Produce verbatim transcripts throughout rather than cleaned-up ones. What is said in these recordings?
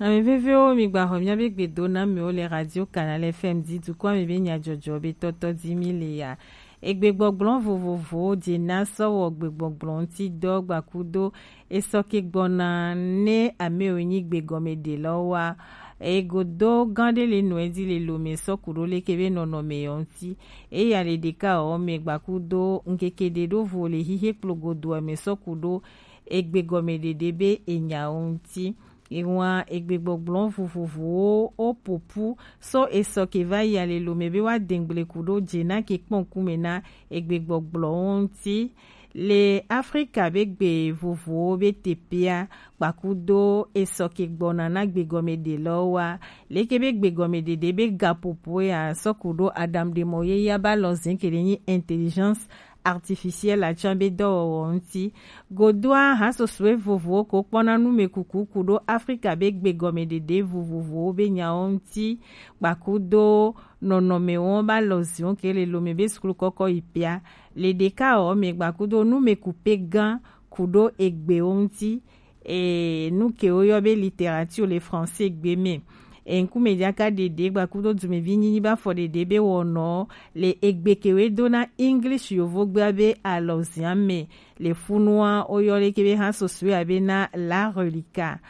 Ame veviwo, mi gba xɔ miabe gbedo na miwo le Radio Canal F M di dukɔ ame be nyajɔjɔ be tɔtɔ di mi le ya. Egbegbɔgblɔ vovovowo je na sɔ wɔ gbegbɔgblɔ ŋuti dɔ gbakudo esɔ ke gbɔna ne amewo nyi gbegɔmeɖelɔwo wa. Egodo gã ɖe le nɔ edi le lome sɔ ku ɖo leke be nɔnɔme yɔ ŋuti. Eya le ɖeka wɔ me gbakudo ŋkeke ɖe ɖo vo le xixe kplo godoa me sɔ ku ɖo egbegɔmeɖeɖe be enyawo ŋuti. Ewa egbegbɔgblɔ vovovowo wo popu so esɔ ke va yi alelo me be wa dengble ku ɖo je na ke kpɔn kume na egbegbɔgblɔwo ŋuti. Le Afrika be gbe vovowo be tepea kpakudo esɔ ke gbɔna na gbegɔmeɖelɔwo wa, leke be gbegɔmeɖeɖe be ga popo ya sɔ ku ɖo aɖaŋuɖemɔ ye ya ba lɔ zin ke ɖe nyi intelligence artificielle atsã be dɔwɔwɔ ŋuti. Godoa, hasosue vovowo ko kpɔna numekuku ku ɖo Afrika be gbegɔmeɖeɖe vovovowo be nyawo ŋuti. Gbakudo nɔnɔmewo ba lɔ ziwo ke le lome be suklu kɔkɔ yi pia. Le ɖeka wɔ me gbakudo numeku pe gã ku ɖo egbewo ŋuti. E, nu ke woyɔ be littérature le français gbe me. E, ŋkume ɖaka ɖeɖe gbakudo dumevi nyinyi ba fɔ ɖeɖe be wɔnɔ le egbe ke we do na English yovogbea be alɔzia me. Le funua woyɔ leke be hasosue abe na la relica.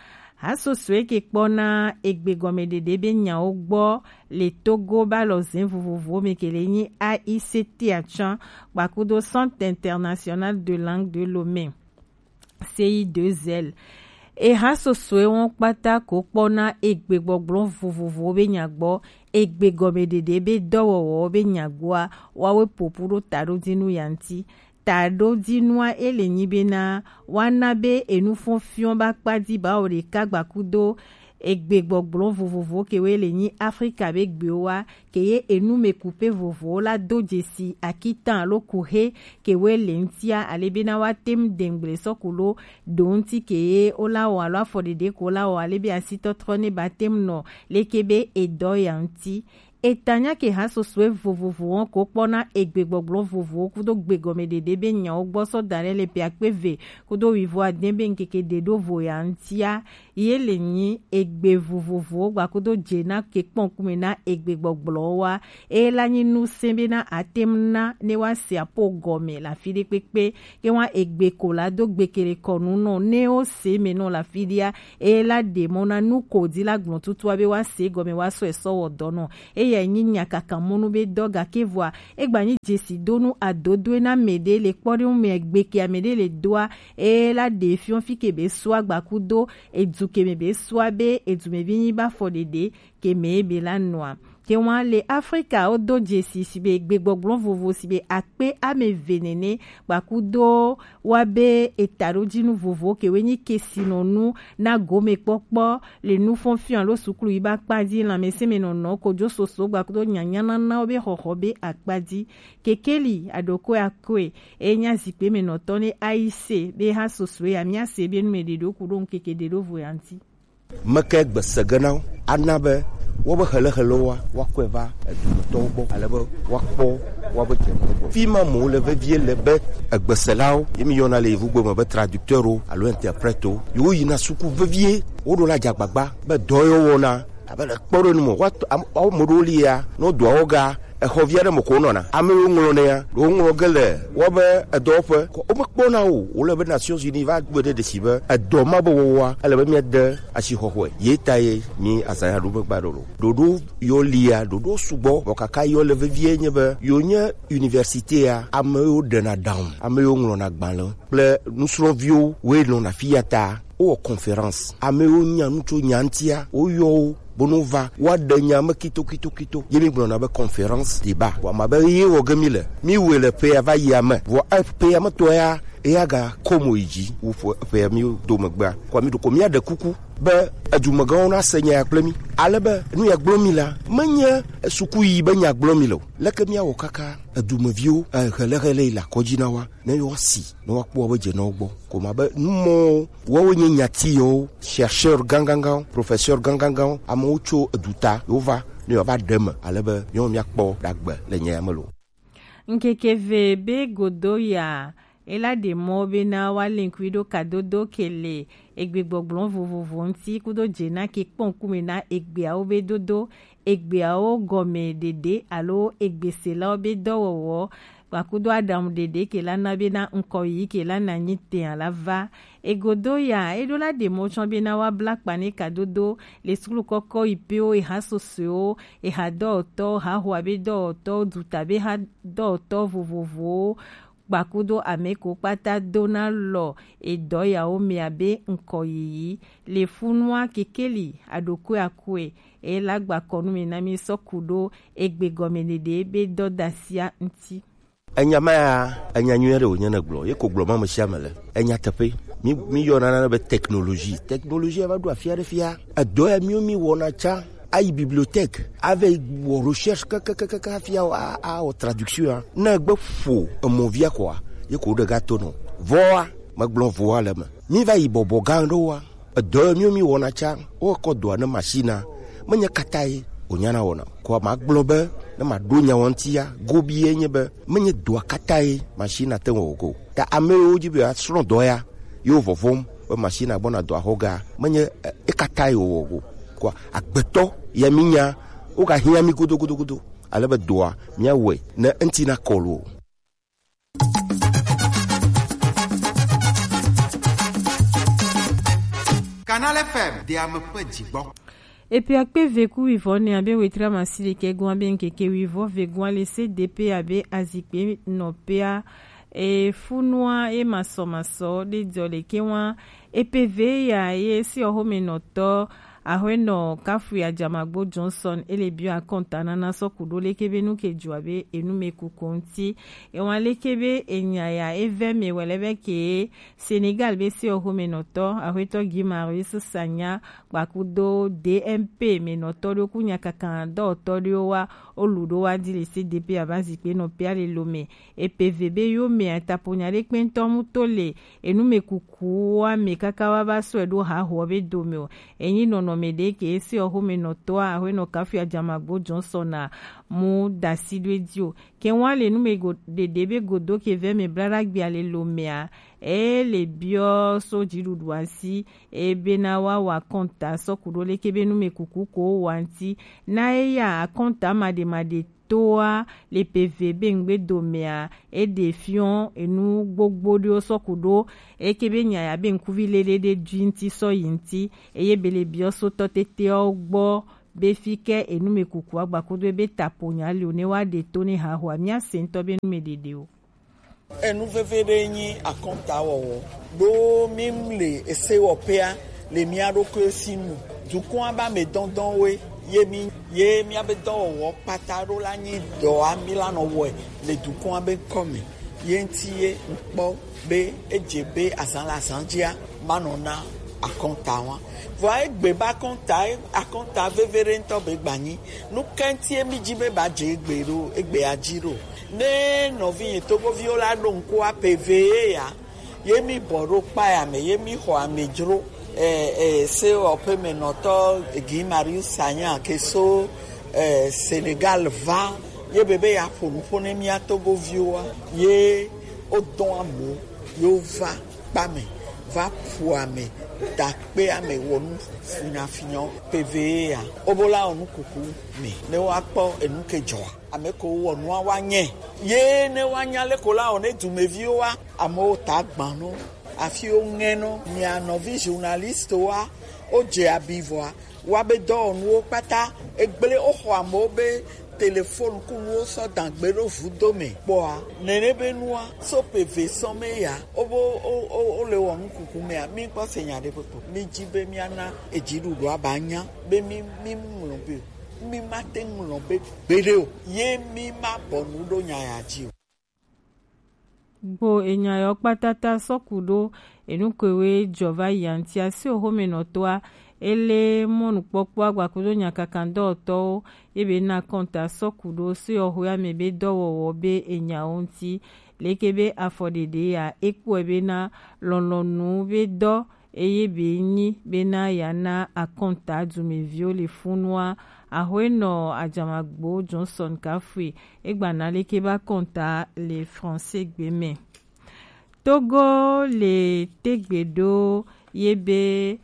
Hasosue ke kpɔna egbe gɔmeɖeɖe be nyawo gbɔ le Togo ba lɔzin vovovowo me ke le nyi A I C T atsã gbakudo Centre International de Langue de Lomé. C I deux L. Eha sosɔe wɔn kpata ko kpɔna egbegbɔgblɔ vovovowo be nya gbɔ, egbegɔmeɖeɖe be dɔwɔwɔwo be nya gbɔa, woawoe popu ɖo taɖodinu ya ŋuti. Taɖodinua ele nyi bena woana be enufɔnfiɔ ba kpa di bawo ɖeka gbakudo egbegbɔgblɔ vovovowo ke woe le nyi Afrika be gbewo wa, ke ye enumekupe vovowo la do dzesi akitan alo kuxe ke woe le ŋutia, ale bena woate ŋu de ŋgble sɔ ku lo ɖo ŋuti ke ye wola wɔ alo afɔɖeɖe ko wola wɔ, ale be asitɔtrɔ ne ba te ŋu nɔ leke be edɔ ya ŋuti. Etanya ke ha sosɔe vovovowo ko kpɔna egbegbɔgblɔ vovowo kudo gbegɔmeɖeɖe be nyawo gbɔ sɔ da ɖe le ƒe akpe eve kudo wuivo ade be ŋkeke ɖe ɖo vo ya ŋutia, ye le nyi egbe vovovowo gbakudo dze na ke kpɔn kume na egbegbɔgblɔwo wa. Eye la nyi nu se be na ate ŋu na ne wa se apo gɔme le afi ɖe kpekpe. Ke wa egbe ko la do gbekele kɔnu nɔ ne wo se me nɔ le afi ɖia. Eye la ɖe mɔ na nu ko di la gblɔ tutua be wa se gɔme wa sɔ esɔ wɔ dɔ nɔ. Eya nyi nya kaka mɔnu be dɔ gake vɔa egba nyi dzesi donu adodoe na mɛ ɖe le kpɔ ɖe ŋu mɛ gbe ke ame ɖe le doa. Eye la ɖe fiɔ fi ke be sua gbakudo edu ke me be sua be edu me vi nyi ba fɔ ɖeɖe ke me be la nɔa. Ke wa le Afrika wo do dzesi si be gbegbɔgblɔ vovo si be akpe ame eve nene gbakudo wa be etaɖodinu vovo ke we nyi kesinɔnu na gomekpɔkpɔ le nufɔnfiɔ alo suklu yi ba kpa di lanmɛsɛnmɛnɔnɔ kojo soso gbakudo nyanyananawo be xɔxɔ be akpa di. Kekeli aɖokoe akoe eye nya zikpe me nɔtɔ ne ayi se be ha sosoe ya mia se be nu me ɖe ɖo ku ɖo ŋkeke ɖe ɖo vo ya ŋuti. Meke gbese ge na wo ana be wobe helehelewo wa woakɔe va edumetɔwo gbɔ ale be woakpɔ woabe dzenuwo gbɔ. Fi ma mo le vevie le be egbeselawo ye mi yɔna le yevugbe me be traducteurwo alo interpretewo, yewo yina suku vevie. Woɖo la dze agbagba be dɔ yewo wɔna abe le kpɔ ɖe nu me woato am- woame ɖewo li ya ne wodoa wɔ ga exɔ vi aɖe me ko wonɔna. Ame yiwo ŋlɔnɛ ya ɖewo ŋlɔ ge le wobe edɔwɔƒe ko womekpɔna o. Wole be Nations Unies va gbe ɖe ɖesi be edɔ ma be wɔwɔa ele be míade asixɔxɔe. Ye ta ye mi azanya ɖo megba ɖo lo. Ɖoɖo yɔ lia, ɖoɖo sugbɔ, bɔ kaka yɔ le vevie nye be yo nye université ya, ame yiwo ɖena ɖaŋu, ame yiwo ŋlɔna gbalẽ kple nusrɔ̃viwo woe nɔna fi ya ta. Wowɔ conférence, ame yiwo nya nu tso nya ŋutia, woyɔ wo beno va woaɖe nya me kito kito kito. Ye mi gblɔna be conférence débat. Vɔ ma be ye wɔ ge mi le, mi wɔe le ƒea va yi ame. Vɔ ƒea me tɔ ya eya ga kɔ mo yi dzi wu ƒe ƒea mi do megbea. Kɔ mi ɖo ko mia ɖe kuku be edumegãwo na se nya ya kple mi. Ale be nu ya gblɔ mi la, menye suku yi be nya gblɔ mi le o. Leke mia wɔ kaka edumeviwo, eh, hele hele yi le akɔdzi na wa, ne woasi, ne woakpɔ wobe dze na wo gbɔ. Ko ma be numɔwo, woawoe nye nyati yewo, chercheur gãgãgãwo, professeur gãgãgãwo, amewo tso eduta, yewo va, ne yewoava ɖe eme, ale be míawo míakpɔ ɖagbe le nya ya me lo. Ŋkeke eve be godo ya, E la ɖe mɔ be na wa linkui ɖo kadodo ke le egbe gbɔgblɔ vovovo ŋuti kudo dze na ke kpɔn kume na egbeawo be dodo, egbeawo gɔme ɖeɖe alo egbeselawo be dɔwɔwɔ kpakudo aɖaŋu ɖeɖe ke la na be na ŋkɔ yiyi ke la na nyi tɛa la va. Egodo ya, e ɖo la ɖe mɔ tsɔ be na wa bla kpa ne kadodo le suklu kɔkɔ yi pewo, eha sosoewo, eha dɔwɔtɔwo, ha hoa be dɔwɔtɔwo, duta be ha dɔwɔtɔ vovovowo kpakudo ame ko kpata do na lɔ edɔ yawo me abe ŋkɔ yiyi le funua kekeli aɖokui akue e la gba kɔnu me na mi sɔ ku ɖo egbe gɔme ɖeɖe be dɔdasia ŋuti. Enya ma ya, enya nyui aɖe wònye ne gblɔ, ye ko gblɔ ma ame sia ame le. Enya teƒe. Mi, mi yɔna nane be technologie. Technologie va ɖo afi aɖe fia. Edɔ ya mi, mi wɔna tsã. Ayi bibliothèque, ave wɔ recherche kakakaka hafi a, a, awɔ traduction ya. Ne egbe ƒo emɔvia kɔa, ye ko ɖe ga to nɔ. Vɔa, megblɔ voa le me. Mi va yi bɔbɔ gã ɖewoa. Edɔ ye mi, mi wɔna tsã, wokɔ dɔa ne machine a. Menye kata ye wònyana wɔna. Kɔa magblɔ be, ne maɖo nya wɔntia, gobi ye nye be, menye dɔa kata ye machine a te ŋu wɔ ko. Ta ame yiwo dzi be yewoasrɔ̃ dɔ ya, yewo vɔvɔm be machine a gbɔna dɔa xɔ ga, menye, eh, ekata ye wòwɔ ko. Kɔa agbetɔ ya mi nya, wogahiã mi godo, godo, godo. Ale be dɔa, miawɔe ne eŋti nakɔ lo. Canal F M, de ame ƒe dzigbɔ. Epe akpe eve ku wuievɔ ne abe wetri amasiɖekɛ gɔn abe ŋkeke wuievɔ ve gɔn le C D P abe azikpe nɔpea. E funua e masɔmasɔ ɖe dɔ le ke wa. Epe ve ya ye si ɔhome nɔtɔ Ahuenɔ Kafui Ajamagbo Johnson ele biɔ akɔnta nana sɔ ku ɖo leke be nu ke dzɔ abe enu me kuku ŋuti. Ewa leke be enya ya evɛ me wɛlɛ be ke Senegal be si ɔhome nɔtɔ Ahuetɔ Guy Marius Sagna kpakudo D M P me nɔtɔ ɖo ku nyakaka dɔwɔtɔ ɖo wa olu ɖo wa di le C D P aba zikpe nɔ pia le lo me. Epe ve be yo me ataponya ɖe kpɛntɔ mu to le enu me kuku wa me kaka wa ba sɔe ɖo hahoɔ be dome o. Enyi nɔnɔme ɖe ke esi ɔhome nɔtɔa Ahuenɔ Kafui Ajamagbo Johnson a mu dasi ɖo edi o. Ke wa le nu me go ɖeɖe be godo ke vɛ me bla ɖa gbia le lo mea, e le biɔ so dziɖuɖu asi e be na wa wa kɔnta sɔ ku ɖo leke be nu me kuku ko wa ŋti. Na eya akɔnta maɖemaɖe toa le pe ve be ŋgbe domea, e ɖe fiɔ enu gbogbo ɖewo sɔ ku ɖo eke be nya ya be ŋkuvi lele ɖe dui ŋti sɔ yi ŋti, eye be le biɔ so tɔ teteawo gbɔ be fi ke enu me kuku agba kudo ebe tapo nya li o ne wa ɖe to ne hahoa mia se ŋtɔ be nu me ɖeɖe o. Enu veve ɖe nyi akɔntawɔwɔ. Ɖo mi mle esewɔƒea le mia ɖokuiwo si nu. Dukɔa be ame dɔndɔnwoe ye mi ye miabe dɔwɔwɔ kpata ɖo la nyi dɔa mi la nɔ wɔe le dukɔa be ŋkɔ me. Ye ŋti ye ŋkpɔ be edze be azã le azã dzia manɔ na akɔnta wa. Vɔa egbe be akɔnta akɔnta veve ɖe ŋtɔ be gbanyi. Nu ka ŋtie mi dzi be ba dze egbe ɖo egbea dzi ɖo? Ne nɔvinye togoviwo la ɖo ŋku ape ve ye ya, ye mi bɔ ɖo kpa ya me, ye mi xɔ amedzro. Eh, eh, se ɔƒe me nɔtɔ Guy Marius Sagna ke so eh, Senegal va, ye be be ya ƒo nu ƒo ne mia togoviwoa, ye wodɔ amewo, ye wova kpa me, va ƒo ame, da kpe ame, wɔ nu finafinyawo. Pe ve ye ya, wobo la wɔ nu kuku me, ne woakpɔ enu ke dzɔa. Ame ko wɔ nua wa nyɛ. Ye ne woanya leko la wɔ ne dumeviwo wa, amewo ta gbã no, afi wo ŋɛ no. Mia nɔvi journaliste wa, wodze abi vɔa, wa be dɔwɔnuwo kpata, egblẽ woxɔ amewo be telefon ku nuwo sɔ dagbe ɖo vudo me kpɔa, nene be nua so pe ve sɔ me ya, wo be wo, wo, wo le wɔ nu kuku mea, mi kpɔ se nya ɖe kpekpe. Mi dzi be miana edziɖuɖua ba nya be mi, mi ŋlɔ be mi mate ŋlɔ be gbeɖe o, ye mi ma bɔ nu ɖo nya ya dzi o. Gbo enya yɔ kpatata sɔku ɖo enu kewe jɔ va yi antia si oxome nɔtɔa ele mɔnukpɔkpɔ agbakudo nyakakan dɔwɔtɔwo ye be na kɔnta sɔku ɖo si oxoe ame be dɔwɔwɔ be enyawo ŋti leke be afɔ ɖeɖe ya ekpɔe be na lɔlɔnu be dɔ eye be nyi bena yeana akɔnta dumeviwo le funua. Axɔenɔ Ajamagbo Johnson Kafui egba na leke be akɔnta le Français gbe me. Togo le tegbe ɖo ye be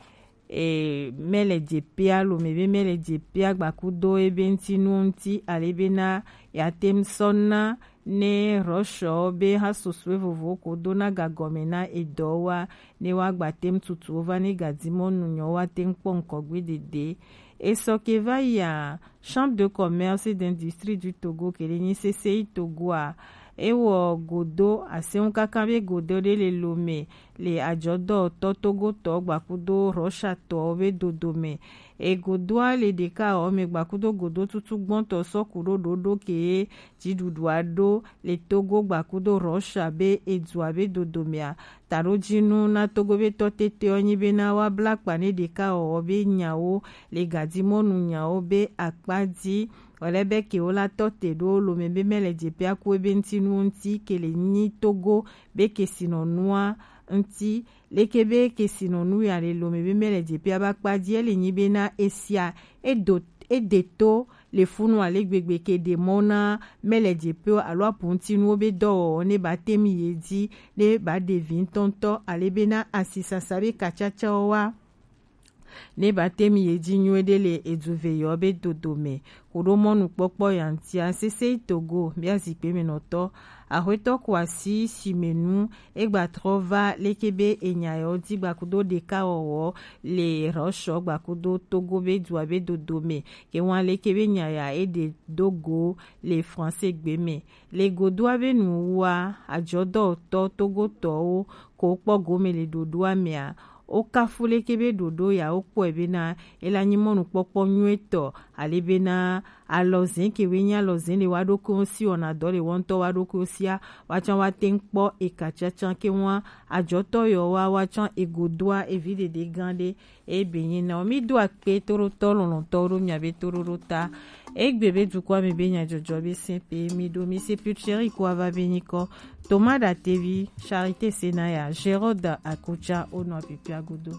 e, mele jepea lome be mele jepea gbakudo ebe ŋuti nuwo ŋuti ale bena yeate ŋu sɔ na ne Rɔshɔ be ha susue vovowo ko do na gagɔme na edɔ wa ne woagba te ŋu tutu wo va ne gadimɔnu nyɔ woate ŋu kpɔ ŋkɔgbe dede. Esɔ ke va yia, Chambre de commerce et d'industrie du Togo ke le nyi C C I Togo a, ewɔ godo aseŋu kaka be godo ɖe le lome le ajɔdɔtɔ togotɔ gbakudo Rɔshatɔwo be dodome. Egodoa le ɖeka ɔ me gbakudo godo tutu gbɔntɔ sɔ ku ɖo ɖoɖo ke dziɖuɖua ɖo le Togo gbakudo Rɔsha be edua be dodomea. Taɖojinu na Togo be tɔ tete ɔ nyi bena woabla akpa ne ɖeka ɔ be nyawo le gadimɔnu nyawo be akpa dzi. Wòle be ke wo la tɔ te ɖo lome be mele jepea ku ebe ŋuti nuwo ŋuti ke le nyi Togo be kesinɔnua ŋuti. Leke be kesinɔnu ya le lome be mele jepea be akpa dzi, ele nyi bena esia edo ede to le funu ale gbegbe ke ɖe mɔ na mele jepeo alo apuŋutinuwo be dɔwɔwɔ ne ba te mi ye dzi ne ba ɖe vi ŋutɔŋutɔ ale bena asisasa be kacacawo wa ne ba te mi ye dzi nyuie ɖe le eduveyɔ be dodome. Ku ɖo mɔnukpɔkpɔ ya ŋutia, sese yi Togo mía zikpe me nɔtɔ Axwetɔ Kwasi Simenu egba trɔ va leke be enya yɔ di gbakudo ɖeka wɔwɔ le Rɔshɔ gbakudo Togo be dua be dodome. Ke wan leke be nya ya e ɖe do go le français gbe me. Le godoa be nu wua, ajɔdɔtɔ Togotɔwo ko kpɔ gome le ɖoɖoa mea, wo kafu leke be ɖoɖo ya wo kpɔe bena ela nyi mɔnukpɔkpɔ nyuietɔ ale bena alɔzɛn ke we nyi alɔzɛn le wa ɖokuiwo si wɔna dɔ le wɔntɔ wa ɖokuiwo sia wa can wa te ŋu kpɔ eka cancan ke wan ajɔtɔ yɔ wa wa can egodoa evi ɖeɖe gan ɖe. Eye be nyi na wo. Mi do akpe toɖotɔ lɔlɔ̃tɔwo ɖo miabe toɖoɖo ta. Egbe be dukɔa me be nyadzɔdzɔ be sɛn pe mi ɖo mi se putcheri ko ava be nyikɔ Thomas Datevi, Charité Senaya, Gérard Akocha wo nɔ pipia godo.